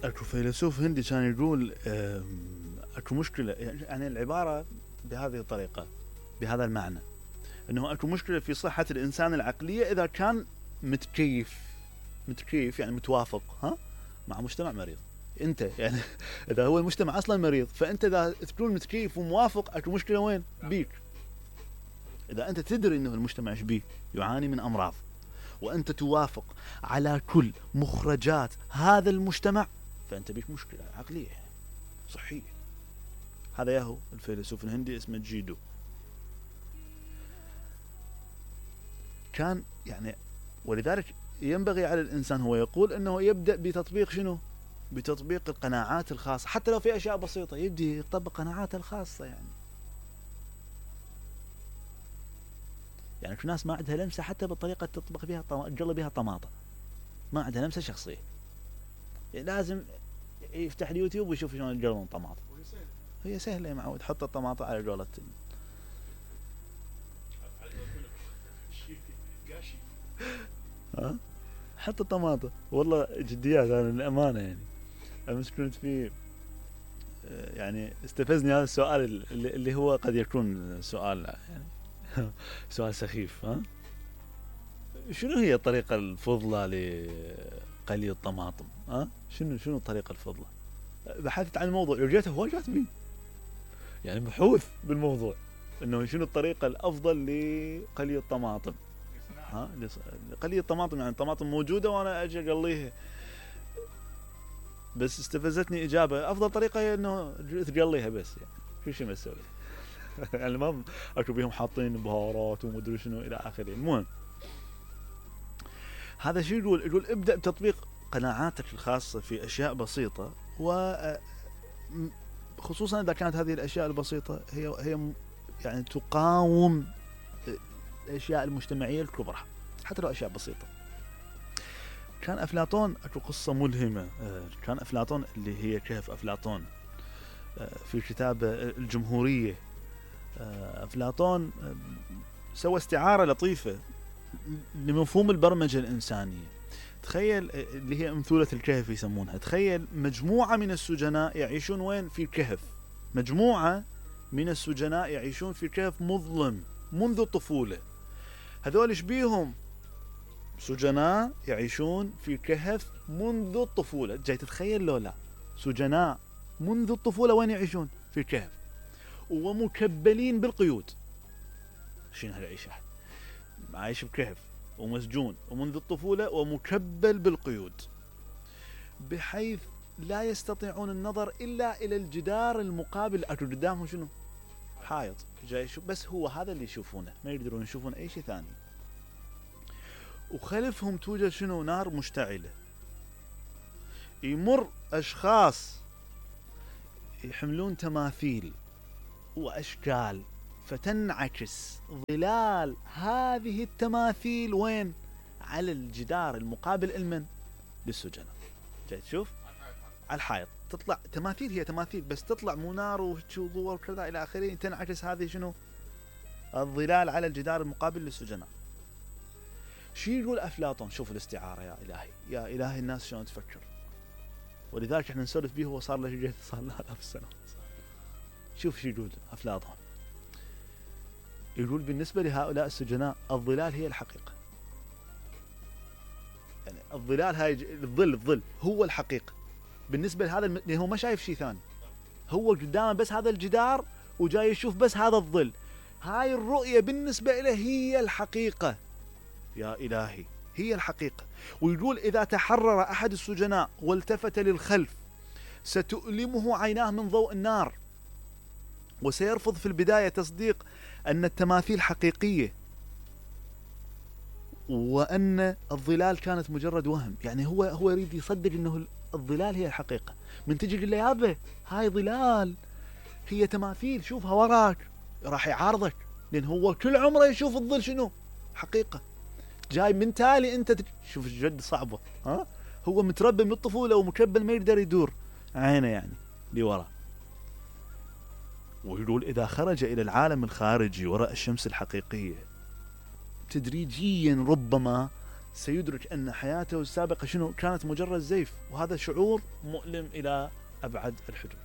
اكو فيلسوف هندي كان يقول اكو مشكلة، يعني العبارة بهذه الطريقة بهذا المعنى، انه اكو مشكلة في صحة الانسان العقلية اذا كان متكيف يعني متوافق مع مجتمع مريض. انت يعني اذا هو المجتمع اصلا مريض، فانت اذا تكون متكيف وموافق اكو مشكلة وين بيك. اذا انت تدري انه المجتمع ايش بيه، يعاني من امراض، وانت توافق على كل مخرجات هذا المجتمع، فانت بيك مشكلة عقلية صحية. هذا ياهو الفيلسوف الهندي اسمه جيدو. كان يعني ولذلك ينبغي على الانسان، هو يقول انه يبدأ بتطبيق شنو؟ بتطبيق القناعات الخاصة، حتى لو في اشياء بسيطة يبدي يطبق قناعاته الخاصة. يعني في ناس ما عندها لمسة حتى بالطريقة تطبخ بها تقلي بها طماطم، ما عندها لمسة شخصية، يعني لازم يفتح اليوتيوب ويشوف شلون يقلون طماطم. هي سهلة يا معود، حط الطماطم على قولة حط الطماطم. والله جديات انا الامانة، يعني امس كنت في يعني استفزني هذا السؤال اللي هو قد يكون سؤال يعني سؤال سخيف. شنو هي الطريقة الفضلى لقلي الطماطم؟ شنو الطريقة الفضلى؟ بحثت عن الموضوع، لقيته هو كاتبين يعني بحوث بالموضوع انه شنو الطريقة الافضل لقلي الطماطم. لقلي الطماطم، يعني الطماطم موجودة وانا اجي اقليها. بس استفزتني اجابة افضل طريقة هي انه تقليها بس، يعني شو مسوي يعني ما اكو بيهم حاطين بهارات ومدري شنو الى اخره. المهم هذا شو يقول ابدأ بتطبيق قناعاتك الخاصة في اشياء بسيطة، وخصوصا اذا كانت هذه الاشياء البسيطة هي يعني تقاوم الاشياء المجتمعية الكبرى، حتى لو اشياء بسيطة. كان افلاطون اكو قصة ملهمة، كان افلاطون اللي هي كهف افلاطون في كتاب الجمهورية. افلاطون سوى استعارة لطيفة لمفهوم البرمجة الإنسانية. تخيل اللي هي أمثلة الكهف يسمونها. تخيل مجموعة من السجناء يعيشون وين؟ في كهف. مجموعة من السجناء يعيشون في كهف مظلم منذ الطفولة. هذول ايش بيهم؟ سجناء يعيشون في كهف منذ الطفولة. جاي تتخيل لو لا؟ سجناء منذ الطفولة وين يعيشون؟ في كهف، ومكبلين بالقيود. شنو هالعيشة؟ عايش بكهف ومسجون ومنذ الطفولة ومكبل بالقيود، بحيث لا يستطيعون النظر إلا إلى الجدار المقابل. أكو قدامهم شنو؟ حائط جاي يشوف، بس هو هذا اللي يشوفونه، ما يقدرون يشوفون أي شيء ثاني. وخلفهم توجد شنو؟ نار مشتعلة. يمر أشخاص يحملون تماثيل وأشكال، فتنعكس ظلال هذه التماثيل وين؟ على الجدار المقابل المن؟ للسجناء. جاي تشوف على الحائط تطلع تماثيل، هي تماثيل بس تطلع منار وضوء وكذا الى اخره، تنعكس هذه شنو؟ الظلال على الجدار المقابل للسجناء. شو يقول افلاطون؟ شوف الاستعارة يا الهي، يا الهي الناس شلون تفكر. ولذلك احنا نسولف به، هو صار له صار له 1000 سنة. شوف شو يقول افلاطون. يقول بالنسبة لهؤلاء السجناء الظلال هي الحقيقة. يعني الظلال هاي الظل هو الحقيقة بالنسبة لهذا لأنه هو ما شايف شيء ثاني، هو قدامه بس هذا الجدار وجاي يشوف بس هذا الظل. هاي الرؤية بالنسبة له هي الحقيقة. يا إلهي هي الحقيقة. ويقول إذا تحرر أحد السجناء والتفت للخلف ستؤلمه عيناه من ضوء النار، وسيرفض في البداية تصديق أن التماثيل حقيقية، وأن الظلال كانت مجرد وهم. يعني هو يريد يصدق أنه الظلال هي الحقيقة. من تجي تقول له يابا هاي ظلال، هي تماثيل، شوفها وراك، راح يعارضك، لأن هو كل عمره يشوف الظل شنو؟ حقيقة. جاي من تالي أنت شوف جد صعبة. هو متربى من الطفولة ومكبل ما يقدر يدور عينه يعني لورا. ويقول إذا خرج إلى العالم الخارجي وراء الشمس الحقيقية، تدريجيا ربما سيدرك أن حياته السابقة شنو كانت مجرد زيف، وهذا شعور مؤلم إلى أبعد الحدود.